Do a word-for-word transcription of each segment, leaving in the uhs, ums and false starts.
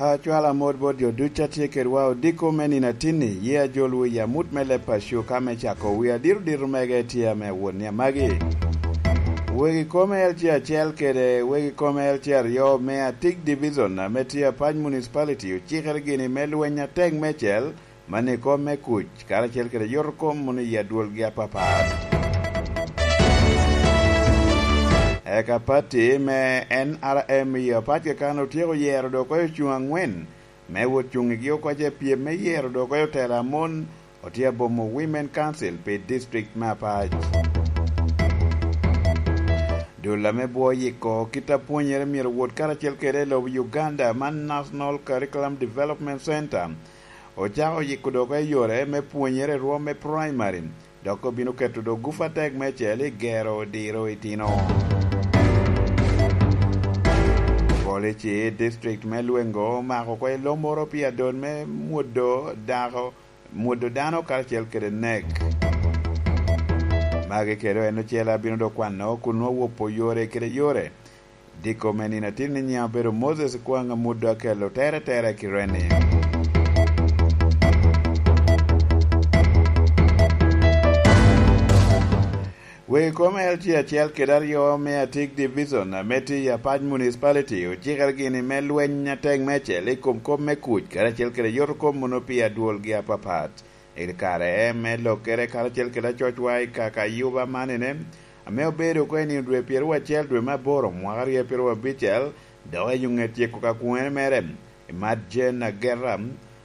Acwalo amot bot jo ducu a tye kedwa odiko me nino atinni, ye ajolwu i amut me leb paco ka me cako wi adito dito mege tye ame wot ni amagi. Wegi kome L C acel kede wegi kome L C aryo me Atik Division ame tye Apac Municipality ocikere gini me lweny atek mecel, mano i kom me kuc, karacel kede yotokom mono i adwolgi apapat. Eka pati me N R M i Apac Kakan otyeko yero dok okoyo cuŋ angwen me wot cuŋ igi okoca i pyem me yero dok okoyo tela a mon otye abomo Women Council pi district me Apac. Dul ame bwo yiko kit a pwonyere myero wot karacel kede i lobo Uganda man National Curriculum Development Center ocako yiko dok i yore me pwonyere i rwom me primary, dok obino keto dok gup atek mecel i gero diro itino. Polici district me Lwengo omako oko i lomoro pi adol me mwodo dako, mwodo dano karacel kede nek. Magi kede en ocele abino dok kwano kun nwoŋo wopo yore kede yore. Diko me nino atin ni nyiŋ obedo Moses Kwaŋ Amuddo Akello tere tere ki Reni. Wegi kome L G acel kede aryo me Atik Division ame tye i Apac Municipality ocikere gini me lweny atek mecel i kom kop me kuc karacel kede yotokom mono pi adwolgi apapat. I kare me lokkere karacel kede acocwa i kaka yuba manene, ame obedo oko i nino dwe pyeraryo acel dwe me aboro mwaka aryo pyeraryo abicel, dok i ŋet tyeko ka kwene mere, Imad Jane Ageta,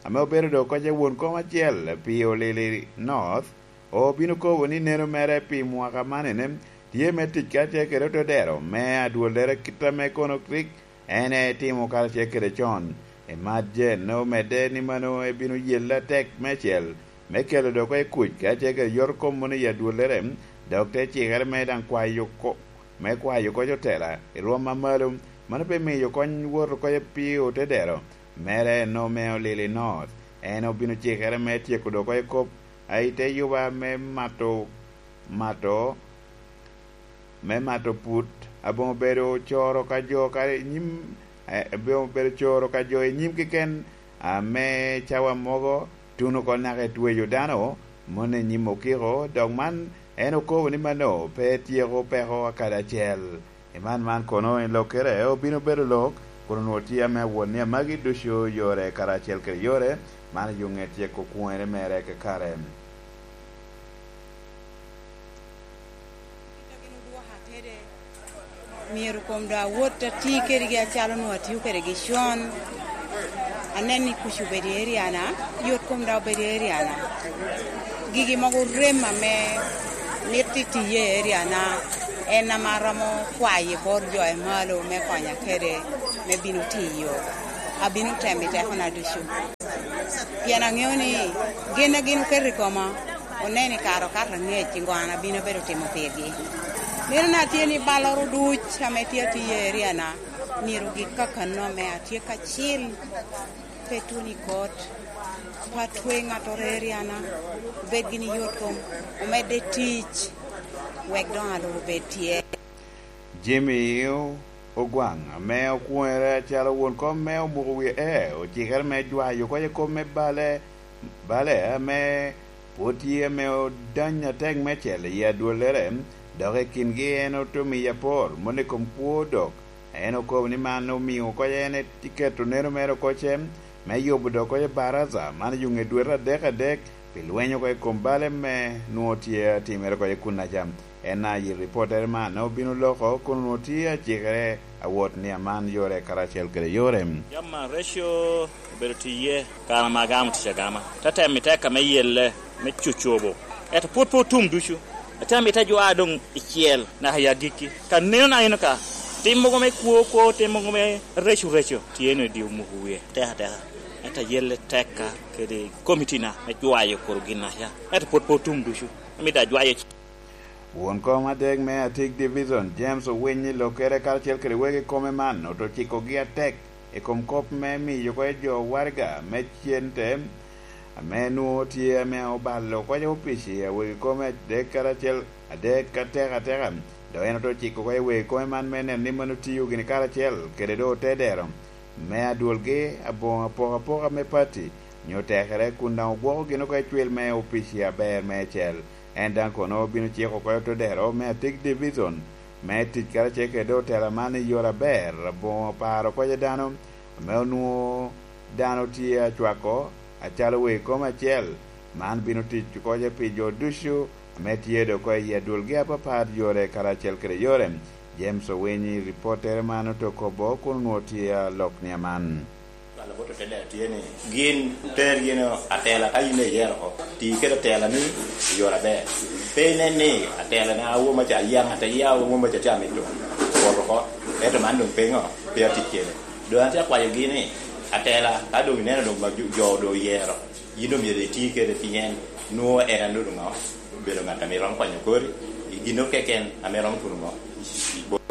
ame obedo dok kocca won kom acel pi Olili North, obino kobo ni neno mere pi mwaka manene tye me tic kacel kede otodero me adwollere kit ame kono rik en etimo karacel kede con. Imad Jane omedde ni mano ebino yelle atek mecel me kelo dok i kuc kacel kede yot kom mono i adwollere, dok te cikere me daŋ kwayo ko-, me kwayo koc otela i rwom a malo. Mano pe miyo kony wot oko pi otedero mere en ome Olili North. En obino cikere me tyeko dok i kop a i te yuba me mato, mato, me mato put, aboŋo bedo coro ka jo ka i nyim, eh, aboŋo bedo coro ka jo i nyim keken, ame cawa mogo tuno oko naka i tweyo dano, moni i nyim okiko, dok man en okobo ni mano pe tyeko peko akadi acel. I man man kono i lokkere obino bedo lok, kun onwoŋo tye ame awot ni amagi ducu yore karacel kede yore, man i yo ŋet tyeko kwone mere kakare. Myero kom doŋ awot ati kedgi acalo onwoŋo atio kedgi con. Anen ni kuc obedo i eriana, yot kom doŋ obedo i eriana. Gigi mogo rem ame mito itiye i eriana, en ame aromo kwayo i bot jo i malo me konya kede me bino tiyo. Abino temo i tekona ducu. Pien aŋeo ni gin a gin oketo i koma, oneno i kare okato angec i ŋo an abino bedo timo pirgi. Mito na tye ni balloro duc ame tye atiyo i eriana, myero gik kakano ame atye kacil, pe tuno i kot, pe atwe ŋattoro i eriana, obed gin i yot kom, omedde tic, wek doŋ alur obed tye. Jimmy Ogwaŋ, ame okwoŋere acalo won kom me omuko wie e, ocikere me jwayo oko i kom me bale, bale ame pwod tye ame odany atek mecel i adwollere, dok i kingi en ote miyo apor, moni i kom kwo dok. En okobo ni man omio oko en iketo neno mere oko ce, me yubo dok oko i baraza, man i yo ŋe dwete adek adek, pi lweny oko i kom bale me nwoŋo tye atimere oko i kunnaca. En a i ripottere man obino loko kun onwoŋo tye acikere awot ni aman yore karacel kede yore. Yam man reco obedo tiye, kara ma agamo tic agama. Te temo i teka me yelle, me cucobo. Ento pwod pe otum ducu. Atye amito ajwa doŋ icel naka i agikki. Ka neno na eno ka, tim mogo me kwo kwo, tim mogo me reco reco, tye eno i dye omuko wie. Teka teka. Ento ayelle tekka kede komitina me jwayo kor ginnaca. Ento pwod pe otum ducu. Amito ajwayo Won kom adek me Atik Division, James Owiny, i lokkere karacel kede wegi kome man, oto cikogi atek i kom kop me miyo oko i jo waraga me cente, ame nwoŋo tye ame obalo oko i opici a wegi kome adek karacel, adek atek ateka. Dok en oto ciko oko i wegi kome man me neno ni mano tiyo gini karacel kede do te dero. me adwolgi aboŋo apokapoka me pati nyo tekere, kun daŋ ogwoko gin oko i cwil me opici aber meicel. En daŋ kono obino ciko oko i otodero me atik divizon me tic karacel kede otela man i yore aber, aboŋo paro kocca dano ame onwoŋo dano tye acwako acalo wei kom acel. Man bino tic kocca pi jo ducu ame tye dok oko i adwolgi apapat, yore karacel kede yore. James Owinyi, ripottere man ote kobo kun onwoŋo tye alok ni aman. Alabot otedde tye ni, gin oter yin atela ka yin iyero oko, ti kede atela ni i yore aber. Pe inen ni atela na awo maca aye ŋat aye awo maca tye amito wot oko, ento man doŋ pe ŋo, pe atic kede. Doŋ atye akwayogi ni atela ka doŋ ineno doŋ ma jo jo doŋ oyero, yin doŋ myero iti kede pien nwoŋo en a nwoŋo ŋo, obedo ŋat ame romo kwanyo kori i gin keken ame romo tuno ŋo i bot.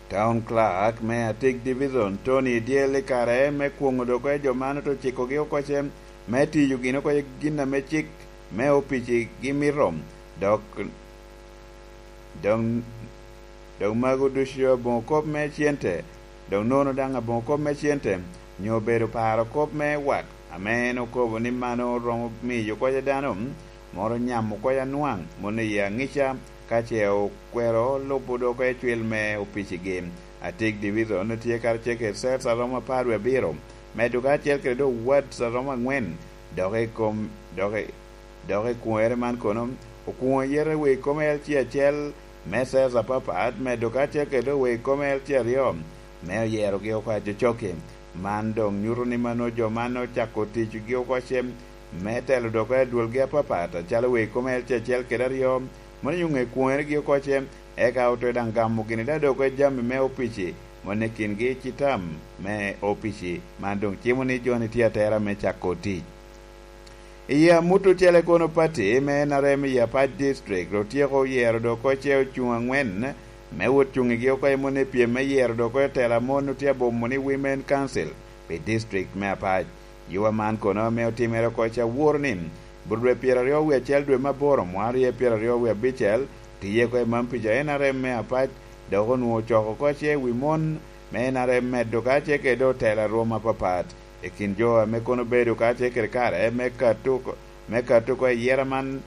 Town Clerk me Atik Division, Tony Dyel, i kare me kwoŋo dok oko jo man ote cikogi oko ce me tiyo gin oko gin ame cik me opici gimito, dok dok dok mago ducu aboŋo kop me cente, dok nono daŋ aboŋo kop me cente, nyo obedo paro kop me wat, ame en okobo ni mano romo miyo oko dano moro nyamo oko anwaŋ, moni i aŋica, ka ce okwero lubo dok oko cwil me opicigi. Atik Division tye karacel kede cels aromo apar wie abiro, medo ka acel kede dok wards aromo angwen, dok i kom, dok i, dok i kwere man kono, okwoŋo yete wi kom L C acel me cels apapat, medo ka acel kede dok wi kom L C aryo me oyerogi oko acokcoki. Man doŋ nyuto ni mano jo man ocako ticgi oko cem me telo dok oko adwolgi apapat, acalo wi kom L C acel kede aryo, moni onyo ŋe kwoŋeregi oko cem, eka ote daŋ gamo gini daŋ dok oko jami me opici, moni kingi citam me opici. Man doŋ cimo ni jo-ni tye atera me cako tic. I amut ocele kono, pati me N R M i Apac District otyeko oyero dok oko ce ocuŋ angwen me wot cuŋ igi oko i moni pyem me yero dok oko tela mon otye abomo ni Women Council pi district me Apac. Yuba man kono ame otimere oko ce aworo ni bur dwe pyeraryo wie acel dwe me aboro mwaka aryo pyeraryo wie abicel, tiye oko i mam pica N R M me Apac dok onwoŋo ocoko oko ce wi mon me N R M medo ka ce kede otela rwom apapat. I kin jo ame kono obedo kacel kede kare me kato oko, me kato oko i yera man,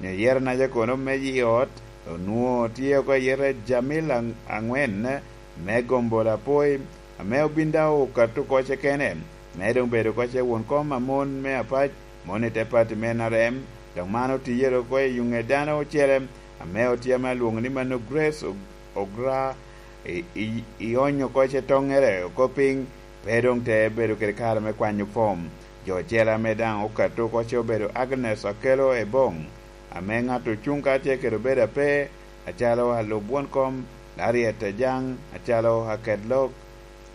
nyo yera naca kono me yi ot, onwoŋo tye oko i yere Jamil aŋ-, aŋwen me Gombo Lapoi, ame obin daŋ okato oko kene, me doŋ bedo oko ce won kom a mon me Apac, mon i te pati me N R M, dok man otiye oko i yuŋe dano ocele, ame otye ame alwoŋo ni mano Grace Og-, Ogra, i, i, i onyo oko ce toŋere oko piny, pe doŋ te bedo kede kare me kwanyo fom. Jo ocele ame daŋ okato oko ce obedo Agnes Akelo Ebong, ame ŋat ocuŋ kacel kede obedo ape, acalo alub won kom, Lariet Ajaŋ, acalo aket lok,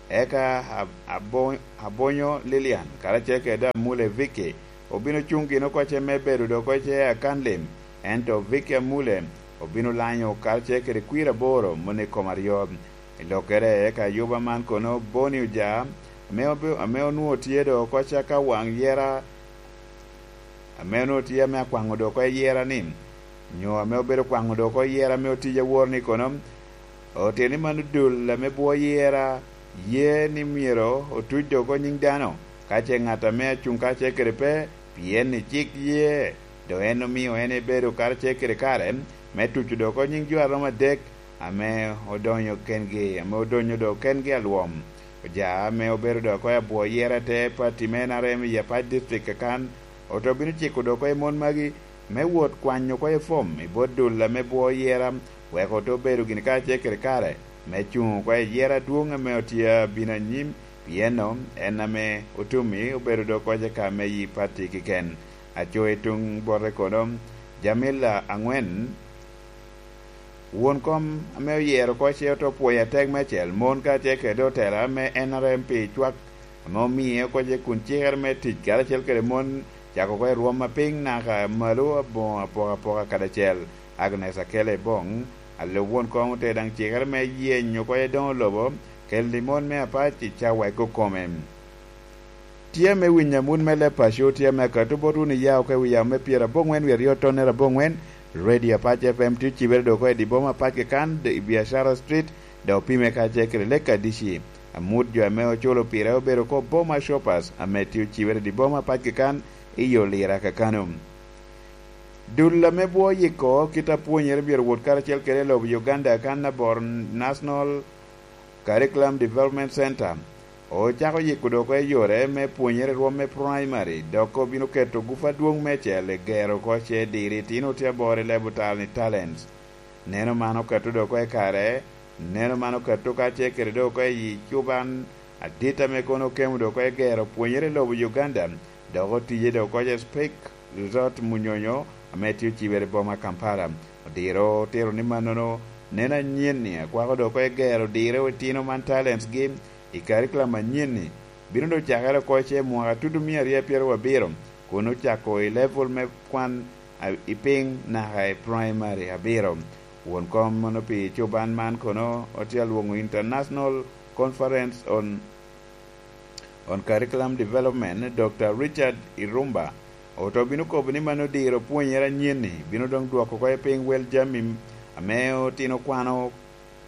eka Ab-, Abo-, Abonyo Lilian, karacel kede Amule Vicky, obin ocuŋ gin oko ce me bedo dok oko ce akan lim, ento Vicky Amule obin olanyo karacel kede kwir aboro moni i kom aryo. I lokere, eka yuba man kono Boni Oja, ame obe-, ame onwoŋo tye dok oko ce ka waŋ yera, ame onwoŋo tye ame akwaŋo dok oko yera ni, nyo ame obedo kwaŋo dok oko yera ame otic awor ni kono, oteni man odul ame bwo yera, ye ni myero otuc dok oko nyiŋ dano, ka ce ŋat ame acuŋ kacel kede pe, pien i cik ye, dok en omio en ebedo karacel kede kare me tuco dok oko nyiŋ jo aromo adek ame odonyo kengi, ame odonyo dok kengi alwom. Oja ame obedo dok oko abwo yera te pati me N R M i Apac District kakan, ote obino ciko dok oko i mon magi me wot kwanyo oko i fom i bot dul ame bwo yera, wek ote obedo gini kacel kede kare me cuŋ oko i yera adwoŋ ame otye abino anyim, pien en ame otumi obedo dok oko ka me yi pati keken. Aco i tuŋ bote kono, Jamila aŋwen, won kom ame oyero oko ce ote opwoyo atek me acel, mon kacel kede otela me N R M pi cwak ame omie oko ce kun cikere me tic karacel kede mon, cako oko i rwom apiny naka malo aboŋo apokapoka kadi acel. Agnes Akele Bong, alub won kom, ote daŋ cikere me yenyo oko i doŋo lobo, keli mon me Apac i cawa i kokome. Tye ame winyo amut me leb paco, tye ame akato bot wun iya oko i wi yamo me pyerabongwen wie aryo tonnere abongwen, Radio Apac F M tye ocibere dok oko i di boma Apac kakan, i Biashara Street, dok opime kacel kede Lake Adici. Amut jo ame oculo pire obedo oko Boma Shoppers ame tye ocibere i boma pacgi kan i yo Lira kakano. Dul ame bwo yiko kit a pwonyere myero wot karacel kede lobo Uganda kan abor National Curriculum Development Center ocako yiko dok oko i yore me pwonyere rwom me primary, dok obino keto gup adwoŋ meicel i gero oko ce diri itino tye aboro i level tal ni talents. Neno man okato dok oko i kare, neno man okato ka ce kede dok oko i cuban adit ame kono okemo dok oko i gero pwonyere i lobo Uganda, dok otiye dok oko ce Speke Resort Munyonyo ame tye ocibere i boma Kampala. Odiro otito ni mannono neno anyen-ni akwako dok oko i gero dire itino man talents gi i curriculum anyen-ni bino dok cakere oko ce mwaka tutu mia aryo pyeraryo abiro, kun ocako i level me kwan a-, i piny naka i primary abiro. Won kom mono pi cuban man kono otye alwoŋo International Conference on, on Curriculum Development, Doctor Richard Irumba, oto bino kobo ni mano diro pwonyere anyen-ni bino doŋ dwoko oko i piny wel jami ame otino kwano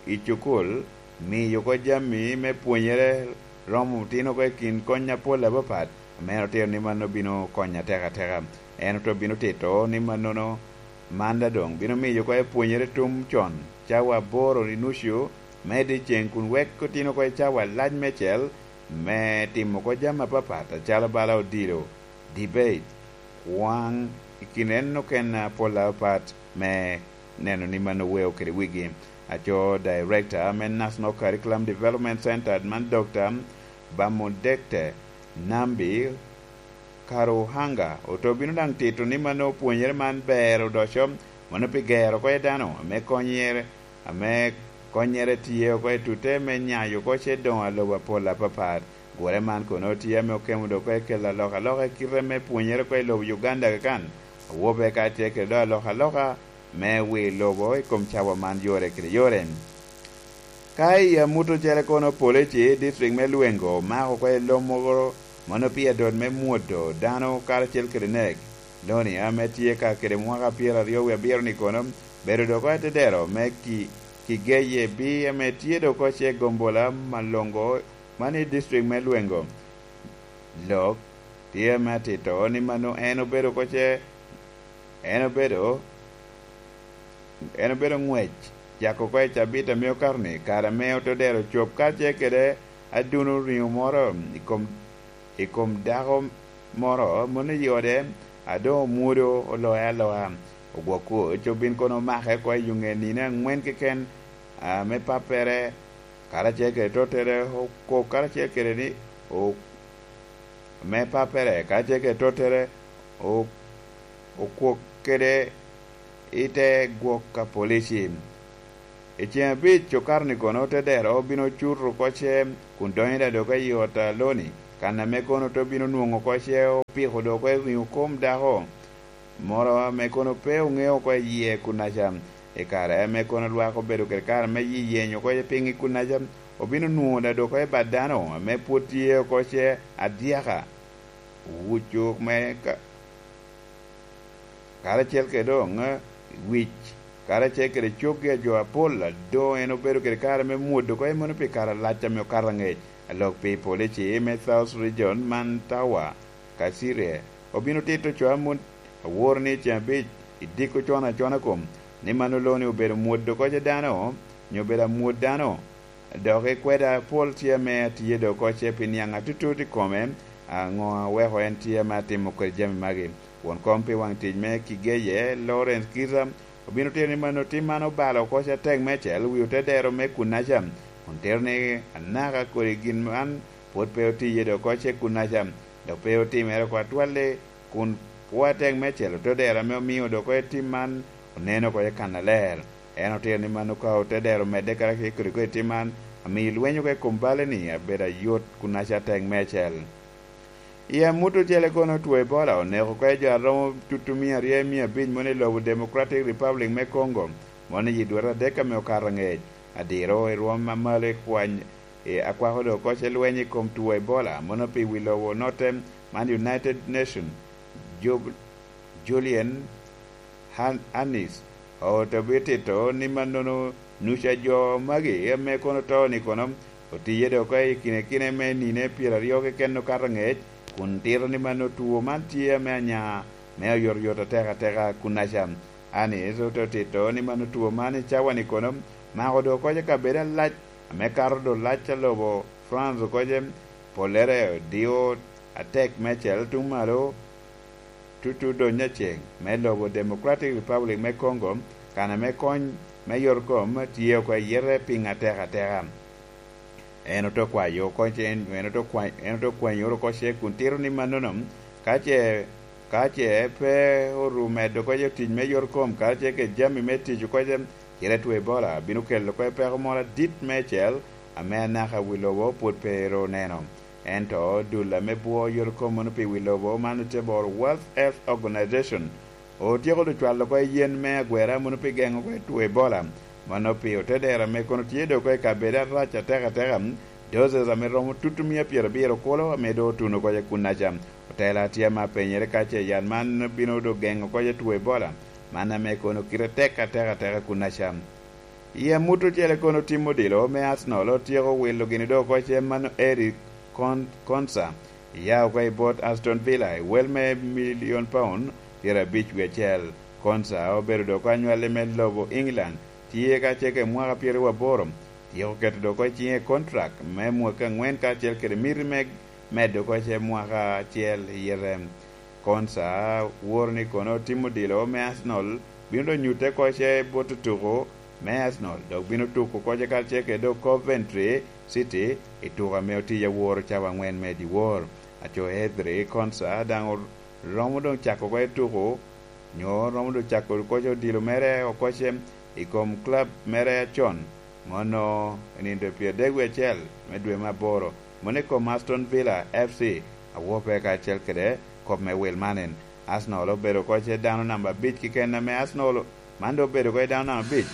i cukul, miyo oko jami me pwonyere romo otino oko i kin kony apol apapat, ame en otito ni mano bino konyo atekateka. En oto bino tito ni mannono, man daŋ doŋ bino miyo oko epwonyere tum con, cawa aboro i nucu me dyeceŋ, kun wek otino oko i cawa alac meicel me timo oko jami apapat, acalo bala odilo, debate, kwaŋ, i kin en okene apol apapat me neno ni mano weo kede wigi. Aco Director me National Curriculum Development Center man, Doctor Bamudekte Nambi Karuhanga, oto bino daŋ tito ni mano pwonyere man ber odoco, mano pi gero oko i dano, ame konyere, ame konyere tye oko i tute me nyayo oko ce doŋo alobo apol apapat. Gure man kono tye ame okemo dok oko i kelo alokaloka i kite me pwonyere oko i lobo Uganda kakan, awobe kacel kede dok alokaloka me wi lobo i kom cawa man yore kede yore. Ka i amut ocele kono, polici i district me Lwengo omako oko i lom moro, mano pi adot me mwodo dano karacel kede nek. Loni ame tye ka kede mwaka pyeraryo wie abiro ni kono, bedo dok oko i tedero me ki, Kigeye bi ame tye dok oko ce gombola malongo man i district me Lwengo. Lok tye me atito ni mano en obedo oko ce, en obedo, en obedo ngwec, cako oko i cabit ame okato-ni, kare ame otodero cop kacel kede aduno riŋo moro i kom, i kom dako moro, mano i ode, a doŋ omwodo oloya aloa. Ogwok kuc obin kono omake oko i yuŋe nino aŋwen keken, a, me pappere, karacel kede tottere, okok karacel kede ni, o-, me pappere, karacel kede tottere, o-, okwok kede i te gwok ka polici. I ceŋ abic okato ni kono, te dero obino cuto oko ce, kun donyo i dadok i ot a Loni, kan ame kono te obino nwoŋo oko ce opiko dok oko i riŋo kom dako moro ame kono pe oŋeo oko i yie kunaca. I kare ame kono lwak obedo kede kare me yi-, yenyo oko i piny i kunaca, obino nwoŋo dadok oko i bad dano ame pwod tye oko ce adyaka. Wucu me ka-, karacel kede doŋ, eh, wic, karacel kede coggi a jo apol, a doŋ en obedo kede kare me mwodo oko i mano pi kare alac ame okato aŋec. Alok pi polici me South Region man Tawa, Kasirye, obino tito co amut aworo ni ceŋ abic i diko con acona kom, ni mano Loni obedo mwodo oko ce dano, nyo obedo amwod dano. Dok i kweda apol tye ame atye dok oko ce pi niaŋ atutut i kome, aŋo aweko en tye ame atimo kede jami magi. Won kom pi waŋ tic me Kigeye, Lawrence Kiza, obino tito ni mano tim man obalo oko ce atek meicel wi otedero me kunaca, kun tito ni anaka kodi gin man pwod pe otiye dok oko ce kunaca, dok pe otimere oko atwal-li, kun pwo atek meicel otodero ame omio dok oko i tim man oneno oko i kannaler. En otito ni mano ka otodero omedde karacel kede oko i tim man, amiyo lweny oko i kom bale-ni abedo ayot kun aca atek meicel. I amut ocele kono, two Ebola oneko oko i jo a romo tutu mia aryo i mia abic mono i lobo Democratic Republic me Congo, mono i yi dwete adek ame okato angec. Adiro i rwom a malo i kwany, i akwako dok oko ce lweny i kom two Ebola, mono pi wi lobo onotte man United Nations, Jub-, Julian Han-, Hannis, oto bitito ni mannono nuca jo magi ame kono to ni kono Otiye dok oko i kine kine me nine pyeraryo keken okato angec, kun tito ni mano two man tye ame anya, me oyotoyot atek ateka kunnaca. Anis ote tito ni mano two man i cawa-ni kono mako dok oko i kabedo alac, ame kato dok lac a lobo France oko, pollere dio atek meicel tuŋ malo, tutu dony aceng me lobo Democratic Republic me Congo, kan ame kony me yot kom tye oko i yete piŋ atek ateka. En ote kwayo oko ce, en ote kwa-, en ote kwanyo oko ce kun tito ni mannono, ka ce, ka ce pe oru medo oko ce tic me yot kom, karacel kede jami me tic oko ce, cite two Ebola bino kelo oko peko moro adit meicel, ame anaka wi lobo pwod pe ru oneno. Ento dul ame bwo yot kom mano pi wi lobo man ote boro World Health Organization, otyeko dok cwalo oko yen me agwera mano pi geŋo oko two Ebola. Mano pi otedero ame kono tye dok oko i kabedo arac atek ateka, doses ame romo tutu mia pyerabiro kulo ame doŋ otuno oko i kunnaca. Otela tye ame apenyere ka ce yat man bino dok geŋo oko two Ebola, man ame kono kite tek atek ateka kunnaca. I amut ocele kono tim odilo me Arsenal otyeko wilo gini dok oko cem mano Eric Kon-, Konsa, iya oko i bot Aston Villa i wel me milion paun pyerabic wie acel. Konsa obedo dok oko anywalli me lobo England, tye ka cege mwaka pyeraryo aboro, tyeko keto dok oko i cinge kontrak me mwaka angwen kacel kede miti me medo oko cem mwaka acel i yete. Konsa woro ni kono tim odilo me Arsenal bino dok nyutte oko ce bot otuko me Arsenal, dok bino tuko oko ce karacel kede dok Coventry City i tuko ame otiye aworo cawa angwen me dyewor. Aco Ezri Konsa daŋ romo doŋ cako oko i tuko, nyo romo doŋ cako oko ce odilo mere oko ce i kom club mere acon. Mono i nino pyeradek wie acel me dwe me aboro, mono i kom Aston Villa F C, awope kacel kede kop me wil man en. Arsenal obedo oko ce dano namba abic keken ame Arsenal, man doŋ obedo oko i dano namba abic